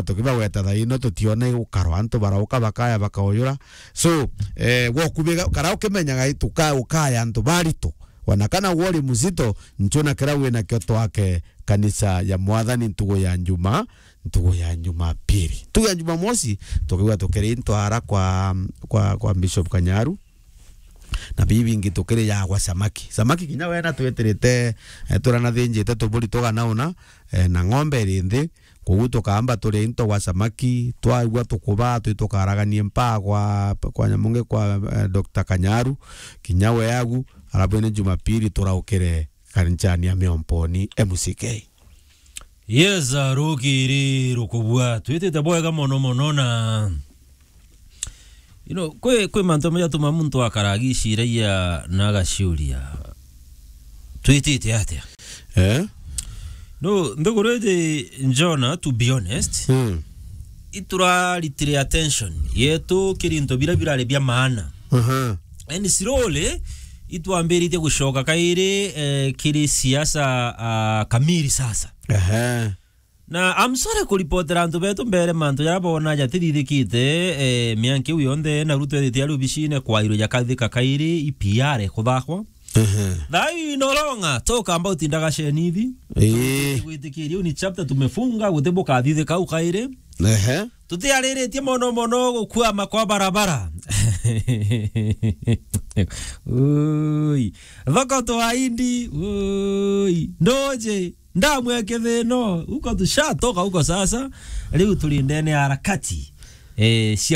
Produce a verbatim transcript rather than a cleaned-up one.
tukibagweta thaa ino tutiona igukaro, antu barauka bakaya bakauyura. So, eh, gwokubiga, kara ukimenyaga ituka-, ukaya antu barito. Wana kana wori muzito, nchuna kira wina kio twake kanisa ya Mwathani ntugu ya Njuma, ntugu ya Njumapili. Ntugu ya Njumamosi, tukiuga tukiri into ara kwa, kwa, kwa Bishop Kanyaru. Na bibi bingi tukiri ya gwa samaki. Samaki kinya wena twetirite, eh, turanathinjite tuburi tuganauna, eh, na ng'ombe iri nthi. Koguo tukaamba turie into gwa samaki, twaigua tukubaa, twi tukaraganie mpaa kwa, kwa nyamunge kwa, eh, Doctor Kanyaru, kinya we agu, arabu ni Jumapili turaukire kanisani ya Miomponi M C K. Yes, ah, rukiri rukubua. Twitite bwega mono mono na, you know, kwi, kwi mantu amwe jatuma muntu akara agiciragia na agaciuria, "Twitite atia?" Eh? No, nthiguru iji, Jona, to be honest, Hmm. ituraritire attention yetu kiri into bira birari bia maana. Aha. And slowly, itwambiritie gucoka kairi, eh, kiri siasa, ah, kamili sasa. Aha. Na I'm sorry kuripotera antu betu mbere mantu jaria boona jatithithikite, eh, mianka iu yonthe, na Ruto ethitie ari obicine kwairwe jakathithika kairi, i P R kuthakwa. Ehe. Thaa ii no longer talk about indaga shenithi. Ii. Gwitikiria, ni chapter tumefunga, guti bukathithika au kairi. Ehe. Tutiariritie mono mono gukwama kwa barabara. Ui. Thoko twaindi. Ui. Ndoje. Ndamweke thino. Huko tushatoka huko sasa. Riu turi ndene ya harakati, eh, cia